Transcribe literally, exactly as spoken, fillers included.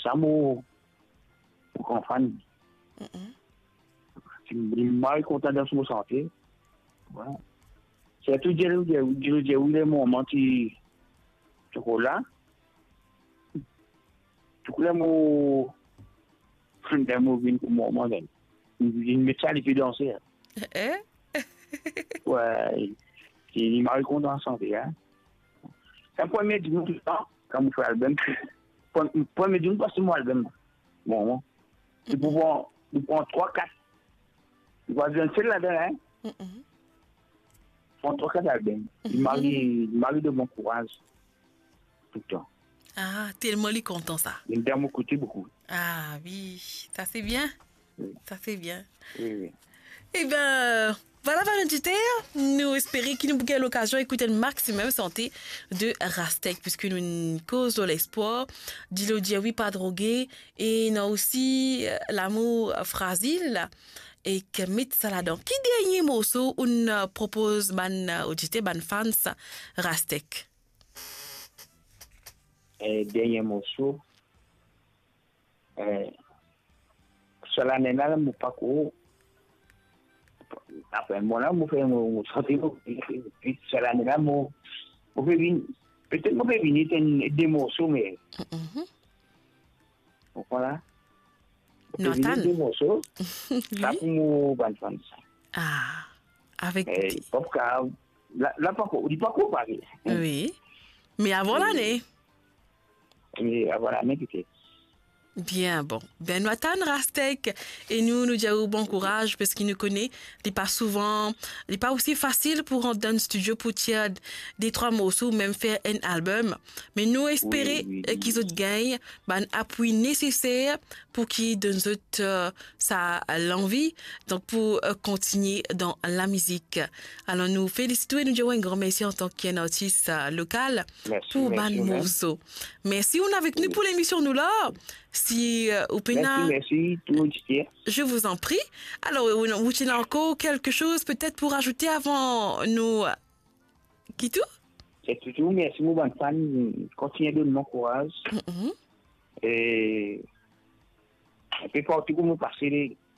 sa mo, mo gran fan. Li, li mari kontan dan so sante. Wi. Sirtou Dilo, Dilo, Dilo, Dilo, wi, le moman ti, ti kola. Tou ler mo, ler mo vinn kouma moman, li, li met sa, li pe danse. Eh? Wi, li, li mari kontan sante, hein. Sa premie dimoun, kan mo fer album, pre-, premie dimoun pas mo album. Bon, bon. Li pou pran, li pran trwa, kat. Li pa bizin sel ladan, hein. Mm-mm. Pran trwa, kat album. Li mari, li mari donn mwa kouraz. Toultan. Ah, telman li kontan sa. Li dan mo kote boukou. Ah wi, sa se bien. Wi. Sa se bien. Wi, wi. Eben, vwala, bann oditer, nou espere ki nou pou gagn lokazion ekout enn maximum sante de Rastec, piski nou koz lor lespwar, dilo dir wi, pa droge, e ena osi, eh, lamour frazil, ek met sa ladan. Ki dernie morso ou'nn, eh, propoz bann, eh, oditer, bann fans Rastec? Eh, dernie morso, eh, sa lane la, mo pa ko, apre mo la, mo fer mo, mo sante mo, pi sa lane la, mo, mo pe vini, petet mo pe vini, enn de morso, me, mhm, ou konpran la? Mo pe vini, nou atann, de morso, wi, sa pou mo bann fan sa. Ah, avek, eh, pli, pop ka, la, la pa ko, li pa ko pare. Wi. Me avan, wi, lane. E, ah, vwala, me kite. Bien, bon. Ben, nou atann Rastec e nou, nou dir ou bon kouraz, paski nou kone, li pa souvan, li pa osi fasil pou rant dan studio pou tir de trwa morso ou mem fer enn album. Me nou espere, wi, wi, eh, ki, wi, zot gagn bann apwi neseser pou ki donn zot, eh, sa lanvi, donk pou, eh, kontigne dan lamizik. Alor, nou felisit ou e nou dir ou enn gran mersi antan ki enn artis, eh, lokal, mersi, pou, mersi, bann morso. Mersi, ou avek nou, wi, pou lemision nou la. Si, eh, ou pena... Mersi, mersi, tou oditer. Je vous en prie. Alor, ou, ou ena ankor kelke soz petet pou razoute avan nou, eh, kit ou? Se touzour mersi mo bann fan, kontigne donn mwa kouraz. Mm-mm. E enpe partou kot mo pase,